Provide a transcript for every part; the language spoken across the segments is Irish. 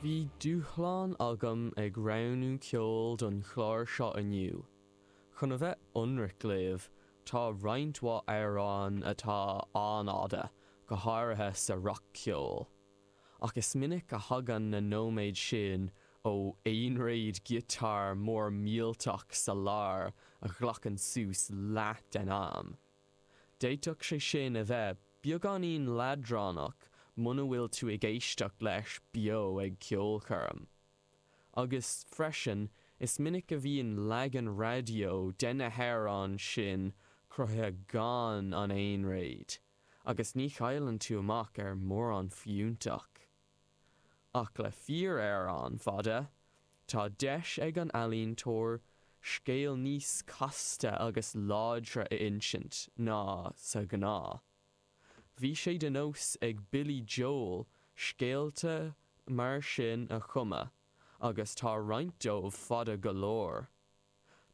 Bhí dúshlán agam ag roghnú ceoil don chlár seo inniu. Chun a bheith ionraic libh, tá roinnt mhaith amhrán atá an-fhada, go háirithe sa rac-cheol. Ach is minic a thagann na nóiméid sin ó aonréad giotáir mór millteach sa lár a ghlacann suas leath den am. D'fhéadfadh sé sin a bheith beagáinín leadránach muna bhfuil tú ag éisteacht leis beo ag ceolchoirm. Agus, freisin, is minic a bhíonn leagan raidió de na hamhráin sin cruthaithe gan an aonréad, agus ní chailleann tú amach ar mórán fiúntach. Ach le fíor-amhrán fada, tá deis ag an ealaíontóir scéal níos casta agus láidre a insint ná sa ghnáth. Bhí sé de nós ag Billy Joel scéalta mar sin a chumadh agus tá roinnt dóibh fada go leor.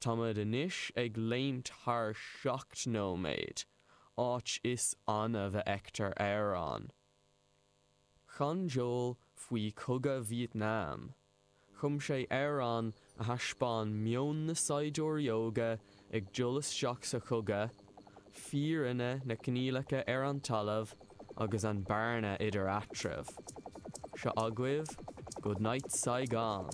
Táimid anois ag léimt thar 7 nóiméad, áit is annamh a fheictear amhrán. Chan Joel faoi Chogadh Vítneam. Chum sé amhrán a thaispeáin meon na saighdiúirí óga ag dul isteach sa chogadh, fírinne na coinníollacha ar an talamh agus an bearna idir eatraimh. Seo agaibh Goodnight Saigon.